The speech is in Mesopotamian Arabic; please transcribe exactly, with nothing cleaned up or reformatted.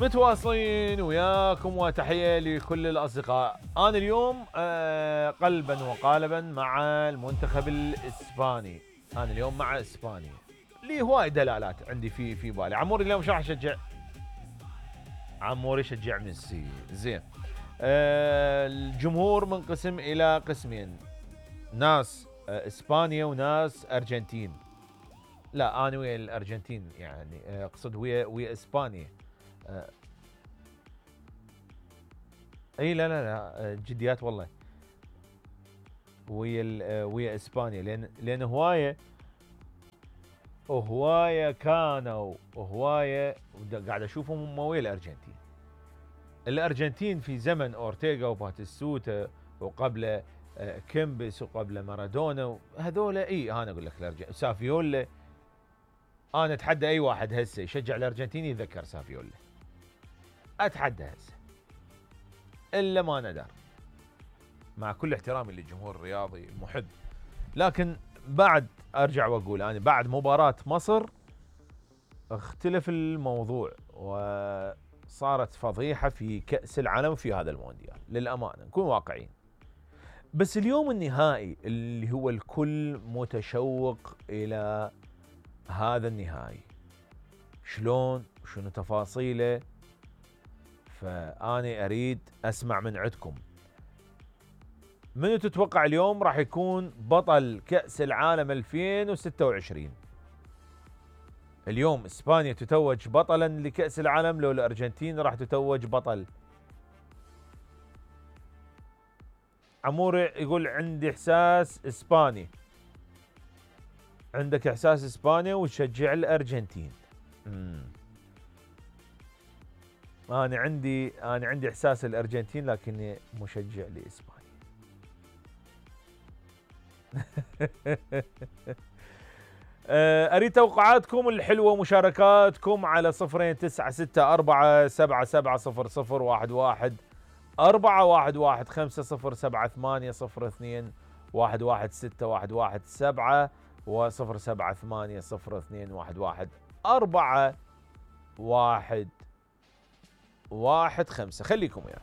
متواصلين وياكم وتحية لكل الأصدقاء. أنا اليوم آه قلبا وقالبا مع المنتخب الإسباني. أنا اليوم مع إسبانيا لي هواي دلالات عندي في في بالي. عموري اليوم شو راح يشجع؟ عموري يشجع ميسي. زين. آه الجمهور منقسم إلى قسمين، ناس آه إسبانيا وناس أرجنتين. لا أنا ويا الأرجنتين، يعني أقصد ويا ويا إسبانيا. آه اي لا لا لا جديات والله، ويا ويا اسبانيا، لان لان هوايه وهوايه كانوا وهوايه قاعد اشوفهم هم ويا الارجنتين. الارجنتين في زمن اورتيغا وباتيستوتا وقبل كيمبس وقبل مارادونا هذول، اي انا اقول لك الارجنتين سافيولا. انا اتحدى اي واحد هسه يشجع الارجنتين يتذكر سافيولا، اتحدى هسه الا ما ندر، مع كل احترامي للجمهور الرياضي المحب. لكن بعد ارجع واقول انا بعد مباراة مصر اختلف الموضوع وصارت فضيحة في كأس العالم في هذا المونديال، للأمانة نكون واقعيين. بس اليوم النهائي اللي هو الكل متشوق إلى هذا النهائي، شلون وشنو تفاصيله، فأنا أريد أسمع من عندكم. منو تتوقع اليوم راح يكون بطل كأس العالم ألفين وستة وعشرين؟ اليوم إسبانيا تتوج بطلا لكأس العالم لو الأرجنتين راح تتوج بطل؟ عمور يقول عندي إحساس إسباني. عندك إحساس إسبانيا وتشجع الأرجنتين. مم. أنا عندي أنا عندي إحساس الأرجنتين لكني مشجع لإسبانيا. أريد توقعاتكم الحلوة ومشاركاتكم على صفرين تسعة ستة أربعة سبعة سبعة صفر صفر واحد واحد أربعة واحد واحد خمسة صفر سبعة ثمانية صفر اثنين واحد واحد ستة واحد واحد سبعة وصفر سبعة ثمانية صفر اثنين واحد واحد أربعة واحد واحد خمسة. خليكم وياي.